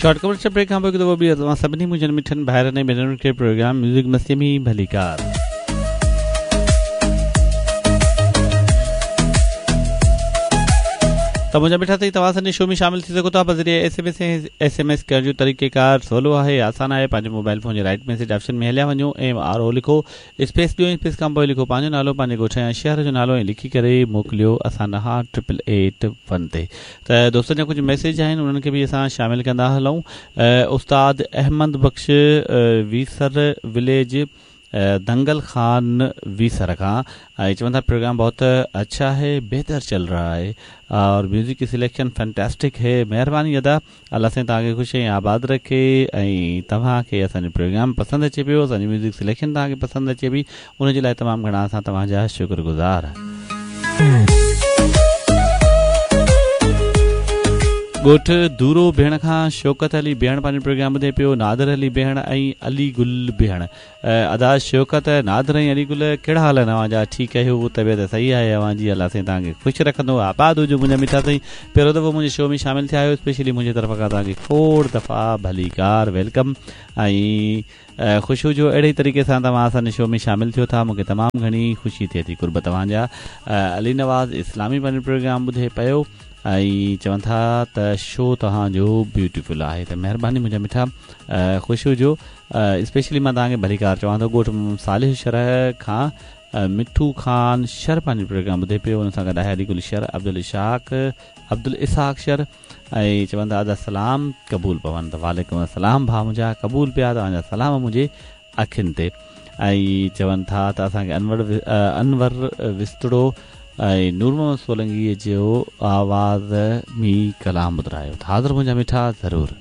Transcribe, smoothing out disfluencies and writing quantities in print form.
Short commercial break کان پوء هڪ دفعو ٻيهر توهان سڀني منهنجن مٺن ڀائرن ۽ ڀينرن کي پروگرام ميوزڪ مستي ۾ ڀليڪار. ته منهنجا مٺا سائين توهان اسان جي شو ۾ شامل ٿي سگهو ٿا بذريعي S M S ۽ S M S ڪرڻ جو طريقيڪار سولو آهي آسان آهي پنهنجي موبائل فون جي رائٽ ميسيج آپشن ۾ هليا وڃو ايم آر او لکو اسپيس ڏيو ۽ اسپيس کان پوء لکو پنهنجو نالو پنهنجي ڳوٺ يا شهر جو نالو ۽ لکي ڪري موڪليو اسان ڏانهن ٽرپل ايٽ ون تي ته دوستن جا ڪجهه ميسيج آهن انهن کي به اسان شامل ڪندا هلون استاد احمد بخش ويسر وليج دنگل خان ويسر کان ۽ چون ٿا پروگرام بهت اڇا هي بهتر چل رها هي اور ميوزڪ ڪي سليڪشن فينٽاسٽڪ هي مهرباني ادا الله سائين توهان کي خوش ۽ آباد رکي ۽ توهان کي اسان جو پروگرام پسند اچي پيو اسان جي ميوزڪ سليڪشن توهان کي پسند اچي پئي ان جي لاء تمام گهڻا اسان توهان جا شڪر گذار. ڳوٺ دورو بيهڻ کان شوڪت علي بيهڻ پنهنجو پروگرام ٻڌي پيو نادر علي بيهڻ ۽ علي گل بيهڻ ادا شوڪت، نادر ۽ علي گل ڪهڙا حال آهن اوهان جا ٺيڪ آهيو طبيعت صحيح آهي اوهان جي الله سائين توهان کي خوش رکندو آباد هجو منهنجا مٺا سائين پهريون دفعو منهنجي شو ۾ شامل ٿيا آهيو اسپيشلي منهنجي طرف کان توهان کي کوڙ دفعا ڀليڪار welcome ۽ خوش هجو اهڙي ئي طريقي سان توهان اسان جي شو ۾ شامل ٿيو ٿا مونکي تمام گهڻي خوشي ٿئي ٿي قرب توهان جا علي نواز اسلامي پنهنجو پروگرام ٻڌي پيو ۽ چون ٿا ته شو توهان جو بيوٽيفل آهي ته مهرباني منهنجا مٺا خوش هجو اسپيشلي مان توهان کي ڀليڪار چوان ٿو ڳوٺ صالح شر کان مٺو خان شر پنهنجو پروگرام ٻڌي پيو ان سان گڏ آهي علي گل شر عبدالشاق عبدالاسحاق شر ۽ چون ٿا ادا سلام قبول پون ته وعليڪم السلام ڀاء منهنجا قبول پيا توهان جا سلام منهنجي اکين تي ۽ چون ٿا ته اسان کي انور انور وسطڙو ۽ نور محمد سولنگي جو آواز ۾ ڪلام ٻڌرايو ته حاضر منهنجا مٺا ضرور.